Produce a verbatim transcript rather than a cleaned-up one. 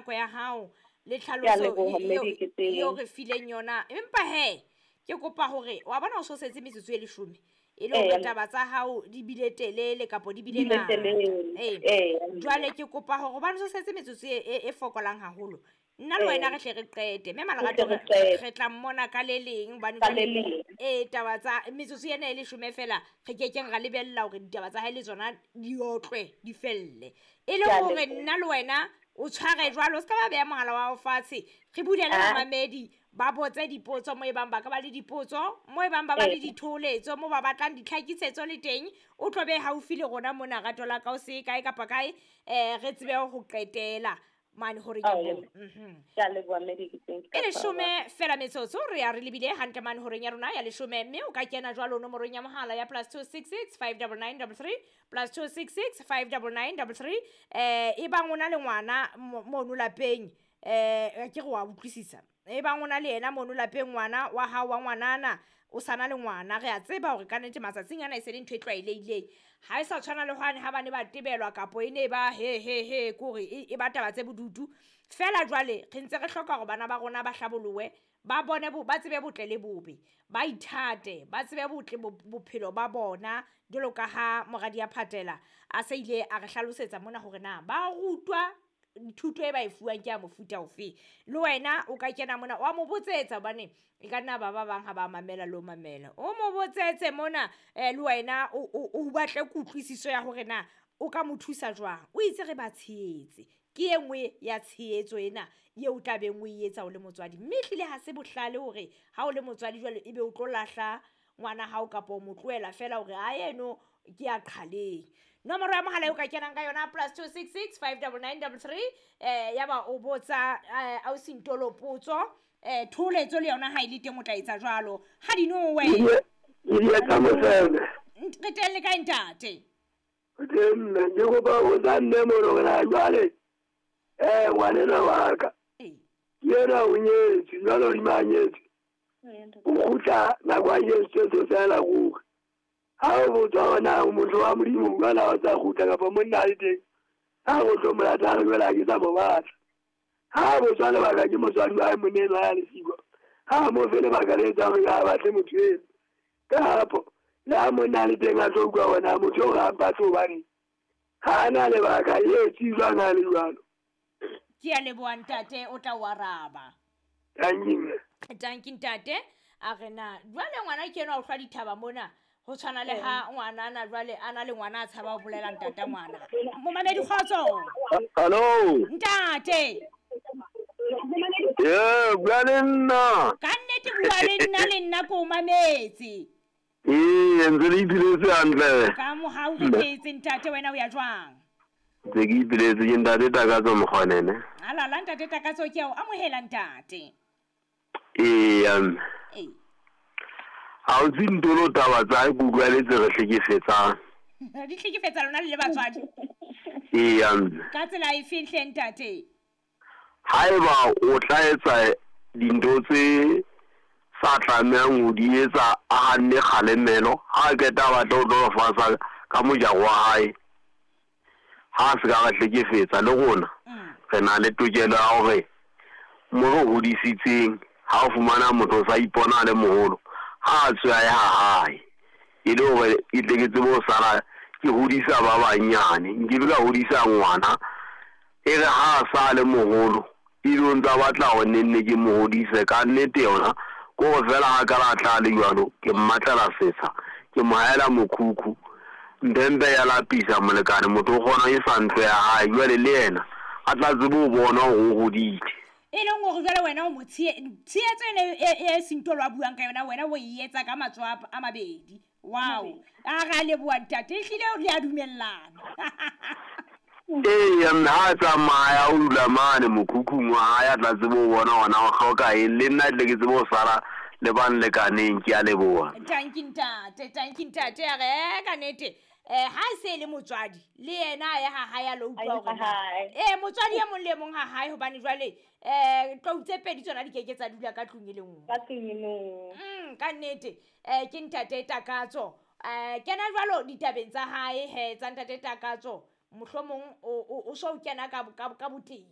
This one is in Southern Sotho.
nako ya hao le tlhaloso eo re fileng yona. Empa he ke kopa hore wa bona o so setse metsotso e leshome e le hore taba tsa hao di bile telele kapo di bile ngata. Eh, jwale ke kopa hore hobane o so setse metsotso e e fokolang haholo, nna le wena re hle re qete mme Malerato re tla mmona ka le leng hobane eh taba tsa metsotso ena e leshome fela re kekeng ra lebella hore ditaba tsa hae le tsona di otlwe di felle. E le hore nna le wena o tshware jwalo, o ska ba beha mohala wa hao fatshe, re bulele bamamedi ba botse dipotso mo e bang ba ka ba le dipotso, mo e bang ba ba le ditholetso, mo ba batlang ditlhakisetso le teng, o tlo be haufi le rona mona rato la ka o se kae kapa kae, eh re tsebe ho qetela mane hore ke bo. Mhm. Ke a leboha mme Diketseng. E leshome fela metsotso re ya re lebile hantle mane horeng ya rona ya leshome, mme o ka kena jwalo nomorong ya mohala ya plus two six six five double nine double three plus two six six five double nine double three. Eh e bang o na le ngwana mono lapeng, eh ke re wa utlwisisa. E bang o na le yena mono lapeng ngwana wa hao wa ngwanana o sana le ngwana, re a tseba hore ka nnete matsatsing ana e se le ntho e tlwaelehileng. Ha e sa tshwana le hwane ha bane ba tebelwa kapo e ne ba he he he kore e ba taba tse bodutu. Fela jwale re ntse re hloka hore bana ba rona ba hlabolowe, ba bone bo, ba tsebe botle le bobe, ba ithate, ba tsebe botle bophelo ba bona jwalo ka ha moradi ya Phatela a se ile a re hlalosetsa mona hore na ba rutwa thuto e ba e fuwang ke ya mofuta ofe. Le wena o ka kena mona wa mo botsetsa hobane e ka nna ba ba bang ha ba mamela le ho mamela. O mo botsetse mona eh le wena o o batle kutlwisiso ya hore na o ka mo thusa jwang. O itse re ba tshehetse, ke e nngwe ya tshehetso ena eo o tla beng o e etsa o le motswadi. Mme ehlile ha se bohlale hore ha o le motswadi jwale ebe o tlo lahla ngwana hao kapa o mo tlohela fela hore ha eno ke ya qhaleng. Nomoro ya mohala eo ka kenang ka yona plus two six six five double nine double three, eh ya ba o botsa ausi Ntolo potso, eh tholetso le yona ha e le teng o tla etsa jwalo. Ha di nowe. Ke tsa mosele. Re teng le kae ntate? Re teng mme, ke kopa ho tsa mme mono hore na jwale eh ngwanenwa wa ka. Eh. Ke yena o nyetswe, jwale o di nyetswe. O kgutla nako a nyetswe tse fela ruri. Ha o botswa hore na o motho wa Modimo jwale ha o sa kgutla kapa monna a le teng, ha o tlo mo lata a re jwale ha ke sa mo batla. Ha botswa lebaka ke motswadi wa hae monna ya lesiko, ha mo fe lebaka le etsang hore ha batle motho eno. Kapo le ha monna a le teng a tlo utlwa hore na motho eo ha a mpatle hobane ha a na lebaka e tsejwang ha le jwalo. Ke a leboha ntate, o tla o araba. Tanki mme. Tanki ntate. A re na jwale ngwana ke enwa o hlwa dithaba mona. Ho tshwana le ha ngwana ana jwale a na le ngwana a tshaba ho bolela ntata ngwana. Momamedi kgotso. Hello. Ntate. Eh, bua le nna. Ka nnete bua le nna le nna ko mametse. Eh, ntse le ipiletse hantle. Ka mohau re phetse ntate, wena o ya jwang? Ntse ke ipiletse ke ntate Takatso Mokgonene. Alala ntate Takatso ke a o amohela ntate. Eh, um. Eh. Ha o tse Ntolo taba tsa hae ke utlwaletse re hlekefetsang. Di hlekefetsa lona le le batswadi? Ee, mme. Ka tsela efe hle ntate? Haeba o tla etsa dintho tse sa tlamehang ho di etsa a hanne kgalemelo, ha qeta a batla ho tlo fasa ka mojaro wa hae, ha se ka re hlekefetsa le rona, re na le tokelo ya hore mo re hodisitseng, ha o fumana motho o sa ipona a le moholo, ha tswe a ya hae e le hore e tle ke tsebe ho sala ke hodisa ba banyane, nke be ka hodisa ngwana e re ha a sa le moholo e be o ntsa batla hore nenne ke mo hodise. Ka nnete yona ko hore fela ha ka la tla le jwalo, ke mmatlela setsha, ke mo haela mokhukhu, mpempe ya lapisa molekane, motho o kgona e sa ntlo ya hae jwale le yena a tla tsebe ho bona hore o hodile. E leng hore jwale wena o mo tshehetso ene e Sintolo a buang ka yona, wena o e etsa ka matsoho a mabedi. Wow. A re a leboha ntate, ehlile le a dumellana. Ee, mme ha tsamaya o dula mane mokhukhung wa hae a tla tsebe ho bona hore na o hloka eng, le nna tle ke tsebe ho sala le ba nlekaneng. Ke a leboha. Tanki ntate, tanki ntate. A re ka nnete eh ha se le motswadi le yena a ya ha hae a lo utlwa hore eh motswadi e mong le mong ha hae, hobane jwale eh tlou tse pedi tsona di keke tsa dula ka tlung e le nngwe. Ka tlung e le nngwe. Mm, ka nnete eh ke ntate Takatso. Eh kena jwalo ditabeng tsa hae he tsa ntate Takatso, mohlomong o o so kena ka ka botebo.